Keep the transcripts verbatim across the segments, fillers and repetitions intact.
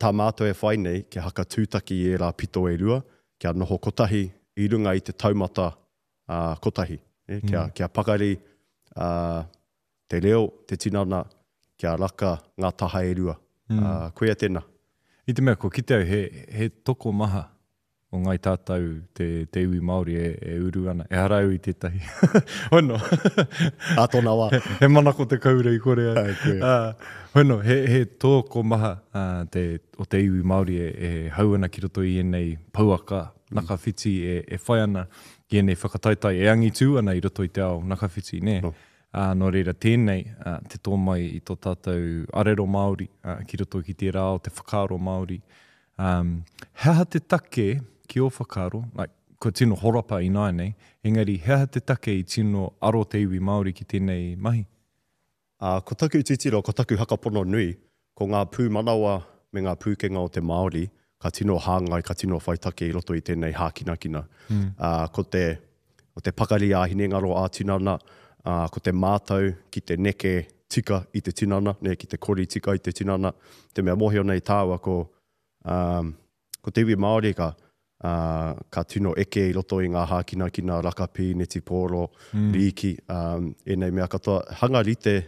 Tā mātou e whai nei, kia haka tūtaki i ērā pito e rua, kia noho kotahi i runga i te taumata uh, kotahi. Eh? Kia, mm. kia pakari uh, te reo, te tinana, kia raka ngā taha e rua. Mm. Uh, koia tēnā. I te mea, ko kite au, he, he tokomaha o ngai tātou te, te iwi Māori e, e uru ana. Ehara au i tētahi. Hono. A tōna wā. He, he manako te kaura i kore ai. Uh, hono, he, he tokomaha uh, te, o te iwi Māori e, e hau ana ki roto i ēnei pouaka mm. nakawhiti e, e whai ana ki ēnei whakataetae e angitū ana i roto i te ao nakawhiti, nē. No. Uh, nō reira tēnei, uh, te tō mai i tō tātou arero Māori uh, ki roto ki tērā o te whakaaro Māori. Um, he aha te take ki ō whakaaro, like, kua tino horapa ināianei, engari he aha te take i tino aro te iwi Māori ki tēnei mahi? Uh, ko taku titiro, ko taku hakapono nui, ko ngā pūmanawa me ngā pūkenga o te Māori, ka tino hāngai, ka tino whai take i roto i tēnei hākinakina. Mm. Uh, ko te, ko te pakari ā-hinengaro ā-tinana, uh, ko te mātau ki te neke tika i te tinana, ne, ki te kori tika i te tinana. Te mea mōhio nei tāua ko, um, ko te iwi Māori ka, uh, ka tino eke i roto i ngā hākinakina, rakapi, netipōro, mm. rīki, um, ēnei mea katoa. Hanga rite,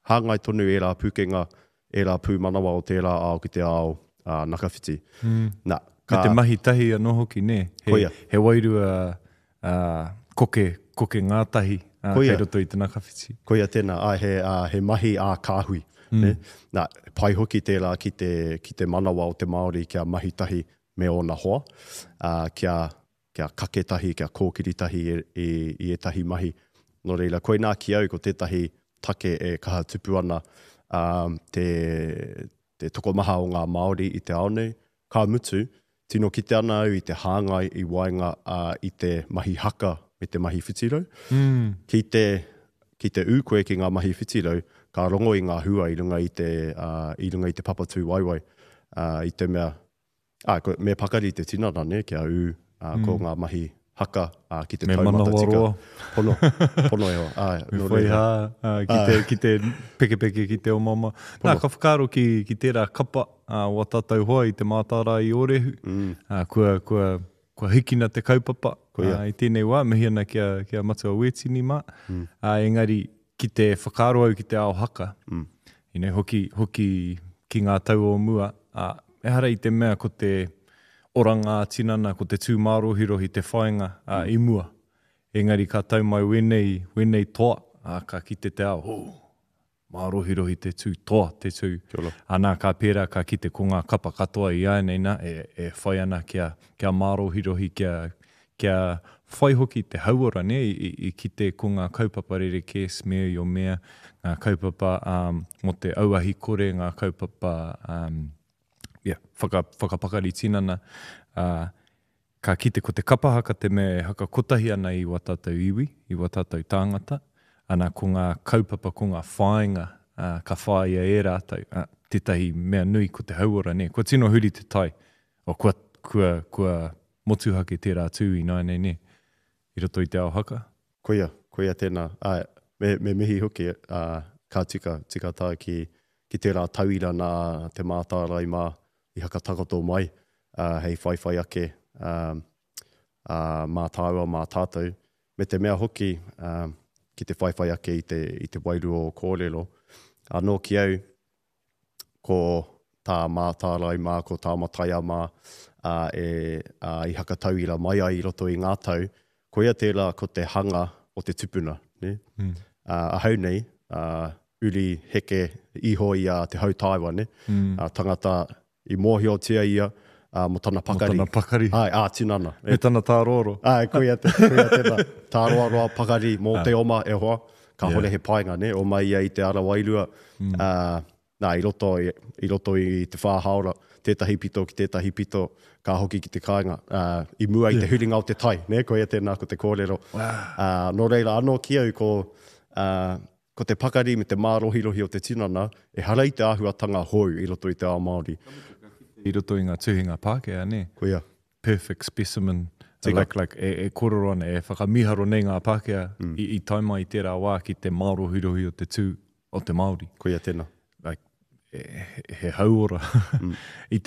hāngai tonu ērā pūkenga, ērā pūmanawa o tērā ao ki te ao uh, nakawhiti. Mm. Nā, ka... Me te mahi tahi anō hoki, nē? He, Koia. He wairua uh, koke, koke ngātahi uh, kei roto i te nakawhiti. Koia tēnā, ai, he, uh, he mahi ā-kāhui. Mm. Ne? Nā, pai hoki tērā ki te, ki te manawa o te Māori kia mahi tahi me ōna hoa, uh, kia, kia kake tahi, kia kōkiri tahi i, i, i ētahi mahi. Nō reira, koinā ki au ko tētahi take e kaha tupu ana um, te, te tokomaha o ngā Māori i te ao nei. Ka mutu, tino kite ana au i te hāngai i waenga uh, i te mahi haka me te mahi whitirau. Mm. Ki te, ki te ū koe ki ngā mahi whitirau, ka rongo i ngā hua i runga i te, uh, i runga i te papatū waiwai. Uh, i te mea, ah, ko, me pakari te tinana, ne, kia ū uh, mm. ko ngā mahi haka uh, ki te me taumata tika. Roa. Pono, pono e hoa. Ah, me whai hā, uh, ki, te, ki te pekepeke, ki te omaoma. Nā, ka whakaaro ki, ki tērā kapa uh, o tātou hoa i te mātārae i Ōrehu. Mm. Uh, kua, kua, kua hikina te kaupapa uh, i tēnei wā, mihi ana kia, kia Matua Wētini mā. Mm. Uh, engari, ki te whakaaro au ki te ao haka, mm. you know, hoki, hoki ki ngā tau o mua, uh, ehara i te mea ko te oranga tinana, ko te tū mārohirohi te whāinga uh, mm. i mua. Engari ka tau mai wēnei, wēnei toa, uh, ka kite te ao, oh, mārohirohi te tū, toa te tū. Anā, ka pērā, ka kite ko ngā kapa katoa i ānei nā, e, e whai ana kia, kia mārohirohi, kia, kia whai hoki te hauora, ne, i, i, i kite ko ngā kaupapa rerekē, smear your mea, ngā kaupapa um, mō te auahi kore, ngā kaupapa um, yeah, whaka, whakapakari tinana, uh, ka kite ko te kapa haka te mea e haka kotahi ana i wā tātou iwi, i wā tātou tāngata, ana ko ngā kaupapa, ko ngā whāinga uh, ka whāia e rātou, uh, tētahi mea nui ko te hauora, ne? Kua tino huri te tai, o kua, kua, kua motuhake tērā tū i nāianei, ne? I roto i te ao haka. Koia, koia tēnā. Ai, me, me mihi hoki, uh, ka tika, tika tā ki, ki tērā tauira nā te mātārae mā i hakatakoto mai, uh, hei whaiwhai ake um, uh, mā tāua, mā tātou. Me te mea hoki, um, ki te whaiwhai ake i te, i te wairua o kōrero. Anō ki au, ko tā mātārae mā, ko tā mataia mā, uh, e, uh, i hakatauira mai ai i roto i ngā tau, koia tērā ko te hanga o te tupuna. Ne? Mm. Uh, ahau nei, uh, uri heke iho i a te hautaiwa, ne? Mm. Uh, tangata i mōhiotia ia uh, mō tana pakari. Mō tana pakari. Ai, ā, tinana. Me tana tārōro. Ai, koia, te, koia tēnā. Tāroaroa pakari mō te oma e hoa. Ka hore he painga, ne? Oma ia i te ara wairua. Mm. Uh, nā, i roto, i, i roto i te whā haora, tētahi pito ki tētahi pito, ka hoki ki te kāinga. Uh, I mua i te huringa o te tai, ne? Koia tēnā ko te kōrero. Wow. Uh, nō reira anō ki au ko, uh, ko te pakari me te mārohirohi o te tinana, ehara i te āhuatanga hou i roto i te ao Māori. I roto i ngā tuhinga Pākehā, ne? Koia. Perfect specimen. Tika. Like, like, e, e kōrero ana, e whakamiharo nei ngā Pākehā mm. i, i tae mai i tērā wā ki te mārohirohi o te tū o te Māori. Koia tēnā. Like, he, he hauora. Mm. I te